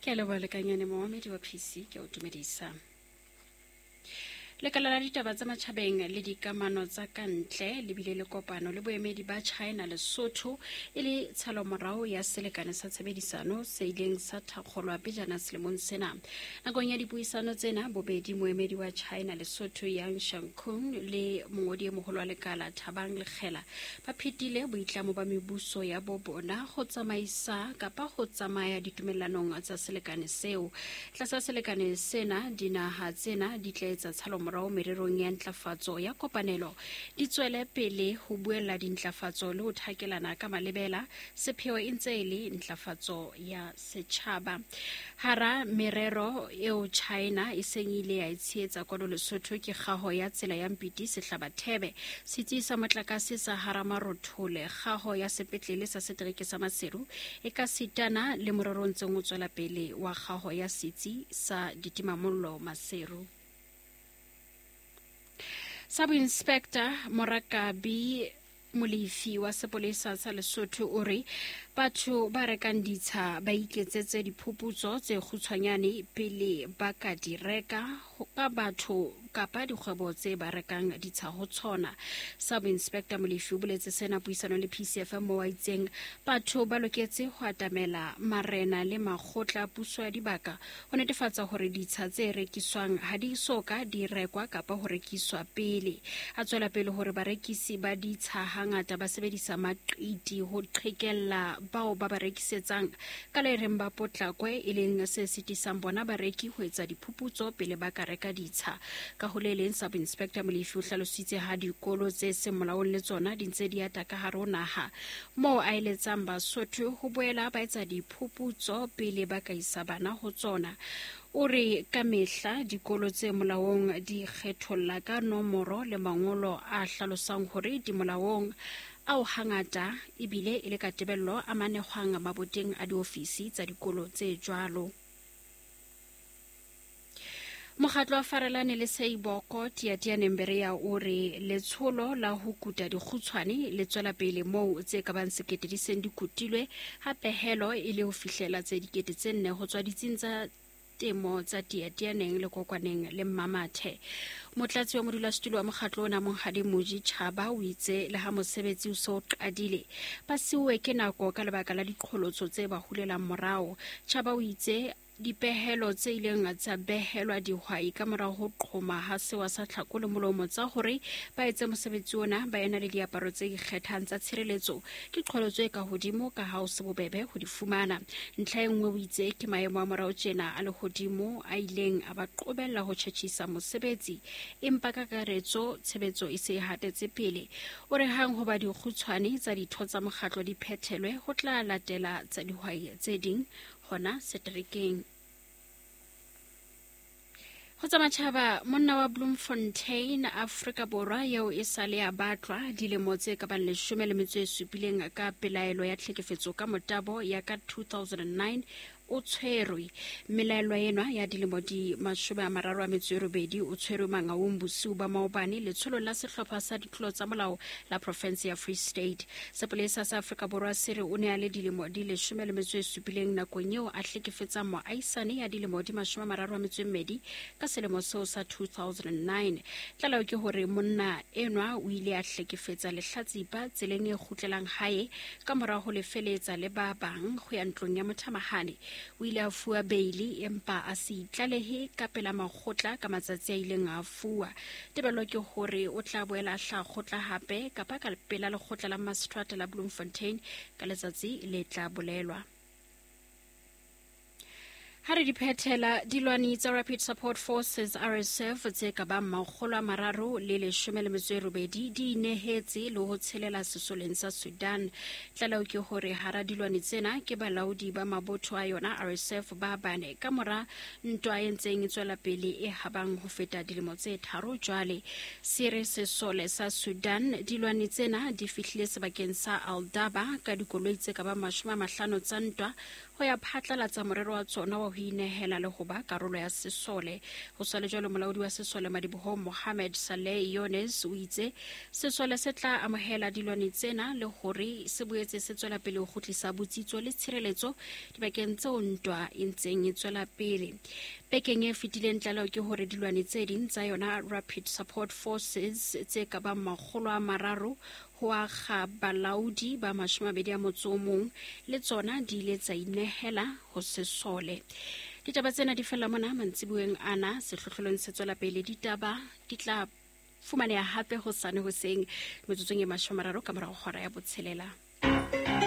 Ke a leboha lekanyane momamedi wa PC ke o dumedisa. Lekala la ditaba tsa matjhabeng le dikamano tsa ka ntle le bile le kopano le boemedi ba China Lesotho e le tshalomorao ya selekane sa tshebedisano se ileng sa thakgolwa pejana selemong sena. Nakong ya dipuisano tsena bobedi moemedi wa China Lesotho Yang Shangkun le mongodi e moholo wa lekala Thabang Lekgela ba phetile boitlamo ba mebuso ya bo bona go tsamaisa kapa go tsamaya ditumellanong tsa selekane seo. Tlasa selekane sena, dinaha tsena di tla etsa tshalomorao mererong ya ntlafatso ya kopanelo, di tswele pele ho buella dintlafatso le ho thakelana ka malebela, sepheo e ntse e le ntlafatso ya setjhaba. Hara merero eo China e seng e ile ya e tshehetsa kwano Lesotho ke kgaho ya tsela ya Mpiti Sehlabathebe, setsi sa motlakase sa Haramarothole, kgaho ya sepetlele sa setereke sa Maseru e ka sitana le morero o ntseng o tswela pele wa kgaho ya setsi sa ditimamollo Maseru. Sub-Inspector Morakabi Molefi wa sepolesa sa Lesotho o re batho ba rekang ditsha ba iketsetse diphuputso tse kgutshwanyane pele ba ka di reka ka batho kapa dikgwebo tse ba rekang ditsha ho tshona. Sub Inspector Molefi o boletse sena puisanong le PCFM mo a itseng batho ba loketse ho atamela marena le makgotla a puso ya dibaka ho netefatsa hore ditsha tse rekiswang ha di so ka di rekwa kapa ho rekiswa pele. A tswela pele hore barekisi ba ditsha hangata ba sebedisa maqiti ho qhekella bao ba ba rekisetsang ka le reng ba potlakwe, e leng se sitisang bona bareki ho etsa diphuputso pele ba ka reka ditsha. Ka ho le leng, Sub Inspector Molefi o hlalositse ha dikolo tse seng molaong le tsona di ntse di ata ka hare ho naha, moo a eletsang Basotho ho boela ba etsa diphuputso pele ba ka isa bana ho tsona. O re ka mehla dikolo tse molaong di kgetholla ka nomoro le mangolo a hlalosang hore di molaong, ao hangata ebile e le ka tebello a manehwang maboteng a diofisi tsa dikolo tse jwalo. Mokgatlo wa Farelane le Seiboko Tiatiane Mberea o re letsholo la ho kuta dikgutshwane le tswela pele moo tse ka bang sekete di seng di kutilwe, ha pehelo e le ho fihlela tse 4000 ho tswa ditsing tsa temo tsa Tiatianeng le Kokwaneng le Mmamathe. Motlatsi wa modulasetulo wa mokgatlo ona Monghadi Moji Chaba o itse le ha mosebetsi o se o qadile, ba siuwe ke nako ka lebaka la diqholotso tse ba hulelang morao. Chaba o itse Dipehelo tse ileng tsa behelwa dihwai ka mora ho qhoma ha sewa sa tlhako le molomo tsa hore ba etse mosebetsi ona ba ena le diaparo tse ikgethang tsa tshireletso ke qholotso e ka hodimo ka ha ho se bobebe ho di fumana. Ntlha e nngwe o itse ke maemo a morao tjena a lehodimo a ileng a ba qobella ho tjhetjhisa mosebetsi, empa ka kakaretso tshebetso e se e hatetse pele. O re hang hoba dikgutshwane tsa ditho tsa mokgatlo di phethelwe ho tla latela tsa dihwai tse ding hona seterekeng. Ho tsa matjhaba, monna wa Bloemfontein, Afrika Borwa, eo e sa le a batlwa dilemo tse ka bang 17 ka pelaelo ya tlhekefetso ka motabo ya ka 2009 o tshwerwe. Mmelaelwa enwa ya dilemo di 38 o tshwerwe Mangaung bosiu ba maobane letsholong la sehlopha sa ditlolo tsa molao la profense ya Free State. Sepolesa sa Afrika Borwa se re o ne a le dilemo di 17 nakong eo a hlekefetsang moahisane ya dilemo di 32 ka selemo seo sa 2009. Tlaleho ke hore monna enwa o ile a hlekefetsa lehlatsipa tseleng e kgutlelang hae ka mora ho lefeletsa le ba bang ho ya ntlong ya mothamahane. O ile a fuwa beili empa a se itlalehe ka pela makgotla ka matsatsi a ileng a fuwa. Tebello ke hore o tla boela a hlaha kgotla hape kapa ka pela lekgotla la maseterata la Bloemfontein ka letsatsi le tla bolelwa. Ha re di phethela, dilwani tsa Rapid Support Forces RSF tse ka bang 318 di inehetse le ho tshelela sesoleng sa Sudan. Tlaleho ke hore hara dilwani tsena ke balaodi ba mabotho a yona RSF ba bane ka mora ntwa e ntseng e tswela pele e habang ho feta dilemo tse 3 jwale. Se re sesole sa Sudan dilwani tsena di fihlile sebakeng sa Aldaba ka dikoloi tse ka bang 50 tsa ntwa. Ho ya phatlalatsa morero wa tsona wa ho inehela le ho ba karolo ya sesole. Ho sa le jwalo, molaodi wa sesole madibohong Mohammed Saleh Yones o itse sesole se tla amohela dilwane tsena le hore se boetse se tswela pele ho kgutlisa botsitso le tshireletso dibakeng tseo ntwa e ntseng e tswela pele. Bekeng e fetileng tlaleho ke hore dilwane tse ding tsa yona Rapid Support Forces tse ka bang 300 ho akga balaodi ba 28 le tsona di ile tsa inehela ho sesole. Ditaba tsena di fella mona mantsibueng ana. Sehlohlolong se tswela pele, ditaba di tla fumaneha hape hosane hoseng metsotsong e 30 ka morago hora ya botshelela.